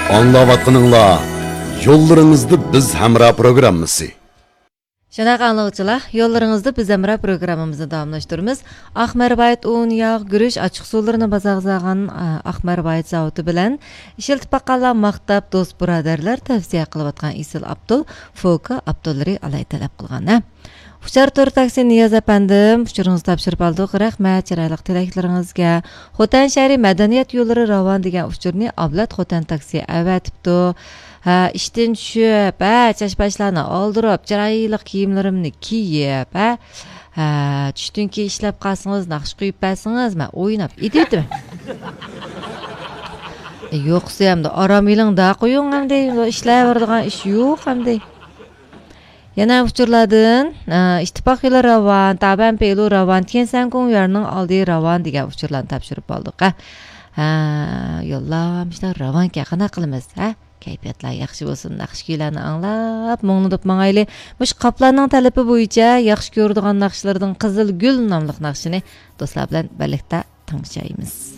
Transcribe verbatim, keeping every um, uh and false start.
ئاڭلاۋاتقىنىڭلار يوللىرىڭىزدا بىز ھەمراھ پروگراممىسى. شۇنداق ئاڭلىغۇچىلار، يوللىرىڭىزدا بىز ھەمراھ پروگراممىمىزنى داۋاملاشتۇرىمىز. ئاق مەرۋايىت ئۇن، ياغ، گۈرۈچ، ئاچچىق سۇلىرىنى بازارغا سالغان، ئا، ئاق مەرۋايىت زاۋۇتى بىلەن ئىشلىتىپ باققانلار ماختاپ، دوست بۇرادەرلەر تەۋسىيە قىلىۋاتقان ئېسىل ئابدۇل، فوكا ئابدۇللىرى ئالاي تەلەپ قىلغان، ھە. ئۇچار تور تاكسى نىياز ئەپەندىم، ئۇچۇرىڭىزنى تاپشۇرۇپ ئالدۇق. رەھمەت چىرايلىق تىلەكلىرىڭىزگە. خوتەن شەھىرى مەدەنىيەت يوللىرى راۋان دېگەن ئۇچۇرنى ئابلەت خوتەن تاكسى ئەۋەتىپتۇ. ھە، ئىشتىن چۈشۈپ، ھە، چاچ-پاچلارنى ئالدۇرۇپ، چىرايلىق كىيىملىرىمنى كىيىپ، ھە، ھە، چۈشتىن كېيىن ئىشلەپ قالسىڭىز، ناخشا قويۇپ بەرسىڭىز، مەن ئويناپ ئېتىۋېتىمەن. ئە، يوقسا ئەمدى ئارام ئېلىڭدا قويۇڭ ئەمدى، ئىشلەۋېرىدىغان ئىش يوق ئەمدى. يەنە ئۇچۇرلاردىن، ئە، ئىتتىپاق يولى راۋان، تابەن پېلۇ راۋان، تيەنسەن گوڭيۈەننىڭ ئالدى راۋان دېگەن ئۇچۇرلارنى تاپشۇرۇپ ئالدۇق. ھە، ھە، يوللار مۇشۇنداق راۋانكەن، قانداق قىلىمىز، ھە؟ كەيپىياتلار ياخشى بولسۇن، ناخشا كۈيلەرنى ئاڭلاپ، مۇڭلىنىپ ماڭايلى. مۇشۇ قاپلاننىڭ تەلىپى بويىچە ياخشى كۆرىدىغان ناخشىلىرىدىن قىزىل گۈل ناملىق ناخشىنى دوستلار بىلەن بىرلىكتە تىڭشايمىز.